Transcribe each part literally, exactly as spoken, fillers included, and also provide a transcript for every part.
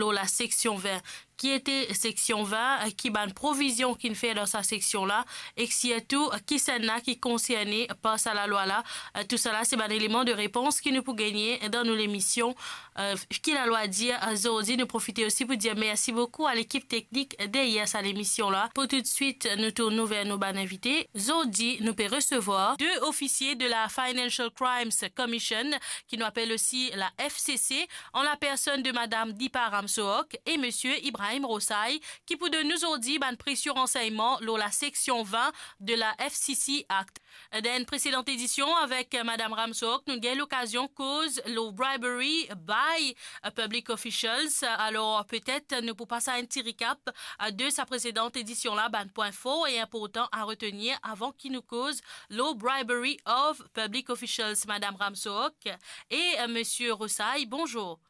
lor la seksion vin. Ki ete seksion vin, ki bann provizion ki'nn fer dan sa seksion la, ek sirtou kisannla ki konserne par sa lalwa la. Tousala se bann eleman de repons ki nou pou gagne dan nou lemision Ki Lalwa Dir. Zordi nou profite osi pou dir mersi boukou a lekip teknik deryer sa lemision la. Pou toutswit nou tourn ver nou bann invite. Zordi nou pe resevwar de ofisie de la Financial Crimes Commission, ki nou apel osi la F C C, an la personn de madam Deepa Ramsohork e misie Ibrahim Rosai, ki pou donn nou zordi bann presie ransegnman lor la seksion vin de la F C C Act. Dan enn presedan edision avek madam Ramsohork, nou gagn lokazion koz lor bribery by public officials. Alor, petet nou pou pas enn ti recap de sa presedan edision la, bann pwin for e inportan a retenir avan ki nou koz lor bribery of public officials. Madam Ramsohork e misie Rosai, bonzour.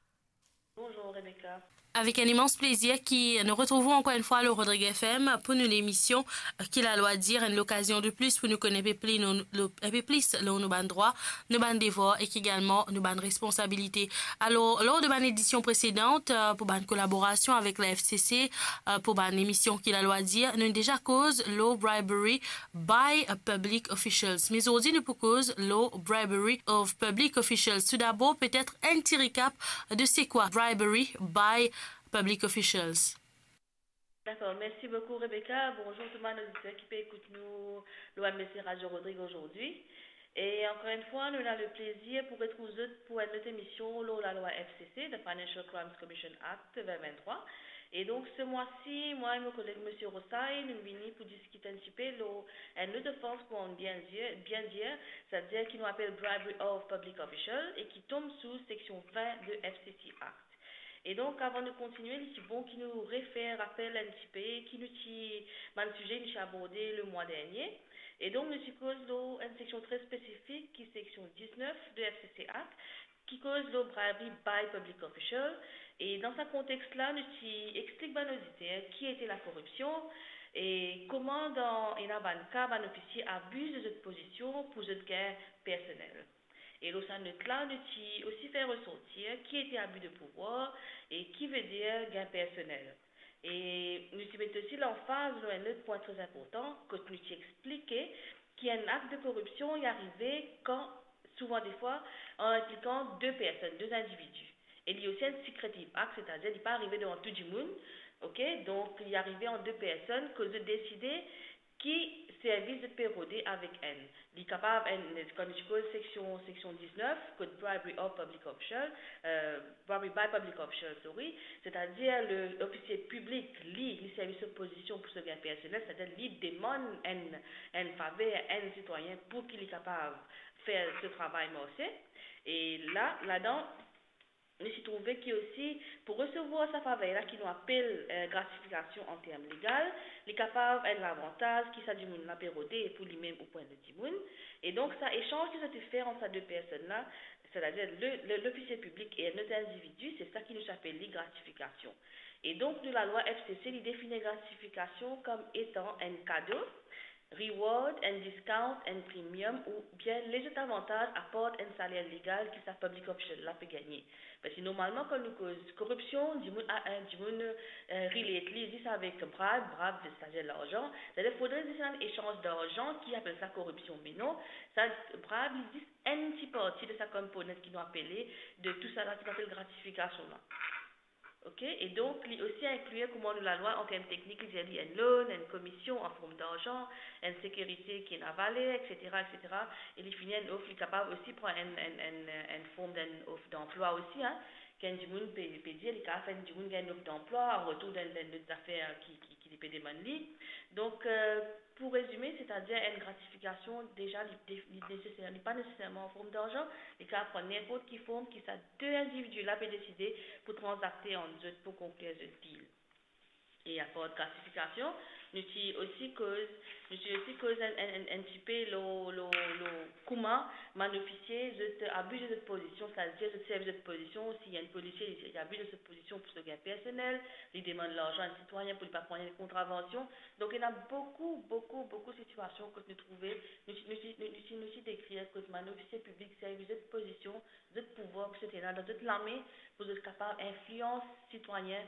Bonzour Rebecca. Avek enn imans plezir ki nou retrouv ou ankor enn fwa lor Rodrigue F M pou nou lemision Ki Lalwa Dir, enn lokazion de plis pou nou kone enpe pli nou, lo, enpe plis lor nou bann drwa, nou bann devwar ek egalman nou bann responsabilite. Alor, lor de bann edision presedan, pou bann kolaborasion avek la F C C, pou bann emision Ki Lalwa Dir, nou deza koz lor bribery by public officials. Me zordi nou pou koz lor bribery of public officials. Toudabor, petet enn ti recap de se kwa bribery by public officials. Dakor, mersi boukou Rebecca. Bonzour tou bann oditer ki pe ekout nou lor M B C Radio Rodrigue zordi. E ankor enn fwa, nou ena leplezir pou retrouv zot pou enn lot emision lor lalwa F C C, the Financial Crimes Commission Act vin vinn-trwa. E donk, se mwa-si, mwa e mo koleg misie Rosai, nou vini pou diskit enn tipe lor enn lot ofans, kouma nou bien dir, bien dir, setadir ki nou apel bribery of public official e ki tom sou seksion vin de F C C Act. E donk, avan nou kontinie, li ti bon ki nou refer rapel enn tipe ki nou ti, bann size nou ti aborde lemwa dernie. E donk, nou ti koz lor enn seksion tre spesifik, ki seksion diznef de F C C Act, ki koz lor bribery by public official. E dan sa kontex la, nou ti explik bann oditer ki ete lakoripsion e kouma dan ena bann ka, bann ofisie abiz de zot pozision pou zot gagn personel. E lor sa not la, nou ti osi fer resortir ki ete abi de pouvwar e ki vedir gagn personel. E nou ti met osi lanfaz lor enn lot pwin tre inportan, kot nou ti explike ki enn akt de koripsion, li arive kan, souvan defwa, an inplikan de personn, de individi. E li osi enn secretive act, setadir li pa arive devan tou dimoun, ok? Donk, li arive ant de personn, kot zot deside ki servis zot pe rode avek enn. Li kapav enn, kan nou ti koz seksion, seksion diznef, kot bribery of public official, euh, bribery by public official, sorry, setadir le, lofisie piblik, li, li servi so pozision pou so gagn personel, setadir li demann enn, enn faver, enn sitwayin pou ki li kapav fer so travay marse. E la, ladan, nou ti trouve ki osi, pou resevwar sa faver la ki nou apel, eh, gratifikasion an term legal, li kapav enn lavantaz ki sa dimoun la pe rode pou limem ou pou enn lot dimoun. E donk, sa esanz ki zot ti fer ant sa de personn la, setadir le, le, lofisie piblik e enn lot individi, se sa ki nou ti apel li gratifikasion. E donk, nou lalwa F C C, li defini gratifikasion kom etan enn kado, reward, enn discount, enn premium, oubien lezot avantaz apart enn saler legal ki sa public official la pe gagne. Parski normalman, kan nou koz koripsion, dimoun, a, enn dimoun, eh, relate li zis avek bribe, bribe, setadir larzan. Setadir, fodre zis enn esanz larzan ki apel sa koripsion. Me non, sa bribe, li zis enn ti parti de sa component ki nou apele, de tou sa la ki nou apel gratifikasion la. Ok, e donk, li osi inklir kouma nou lalwa, an term teknik, li dir li enn loan, enn komision an form larzan, enn sekirite ki ena valer, et cetera, et cetera. E li fini enn of, li kapav osi pran enn, enn, enn, enn form d'enn of d'emploi osi, hein, ki enn dimoun pe, pe dir, li kapav fer enn dimoun gagn enn of d'emploi, an retour d'enn, d'enn lot zafer ki, ki, ki li pe demann li. Donk, euh, pou rezime, setadir enn gratifikasion, deza, li, li neseser, li pa neseserman an form larzan, li kapav pran ninport ki form ki sa de individi la pe deside pou tranzakte ant zot pou konklir zot deal. E apart gratifikasion, Nou ti osi koz, nou ti osi koz enn, enn, enn, enn tipe lor, lor, lor kouma bann ofisie, zot abiz de zot pozision, setadir zot servi zot pozision, si enn polisie, li, li abiz de so pozision pou so gagn personel, li demann larzan enn sitwayin pou li pa pran enn kontravansion. Donk, ena boukou, boukou, boukou sitiasion kot nou trouve, nou ti, nou ti, nou, nou ti, nou ti dekrir kot bann ofisie piblik servi zot pozision, zot pouvwar ki zot ena dan zot lame pou zot kapav inflians sitwayin